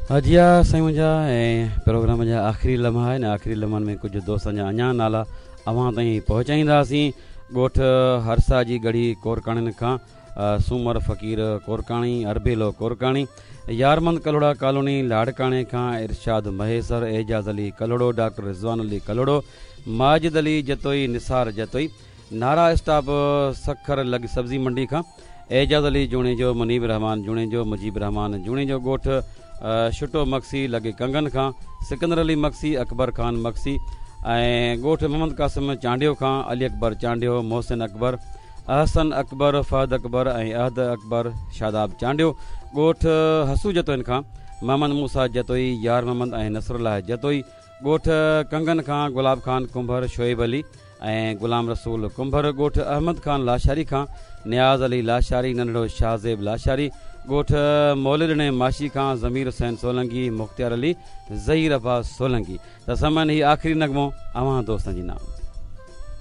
جي ها سائين منهنجا ۽ پروگرام جا آخري لمحا آهن آخري لمحن ۾ ڪجهه دوستن جا اڃا نالا اوهان تائين پهچائينداسين ڳوٺ هرسا جي ڳڙهي ڪورڪاڻين کان سومر فقير ڪورڪاڻي اربيلو ڪورڪاڻي يارمند ڪلهوڙا ڪالوني لاڙڪاڻي کان ارشاد مهيسر اعجاز علي ڪلهوڙو ڊاڪٽر رضوان علي ڪلهوڙو ماجد علي جتوئي نثار جتوئي نارا اسٽاپ سکر لڳ سبزي منڊي کان اعجاز علي جوڻيجو، منيب الرحمان جوڻيجو، مجيب الرحمان جوڻيجو ڳوٺ شٽو مگسي لڳ ڪنگن کان سڪندر علي مگسي، اڪبر خان مگسي ۽ ڳوٺ محمد قاسم چانڊيو کان علي اڪبر چانڊيو، محسن اڪبر، احسن اڪبر، فهد اڪبر ۽ احد اڪبر، شاداب چانڊيو ڳوٺ حسو جتوئين کان محمد موسيٰ جتوئي، يار محمد ۽ نصرالله جتوئي ڳوٺ ڪنگن کان گلاب خان ڪنڀر، شعيب علي ۽ غلام رسول ڪنڀر، ڳوٺ احمد خان لاشاري کان نياز علي لاشاري، ننڍڙو شاهزيب لاشاري، ڳوٺ موليڏني ماشي کان ضمير حسين سولنگي، مختيار علي، ظهير عباس سولنگي. ته سامعين هي آخري نغمو اوهان دوستن جي نام.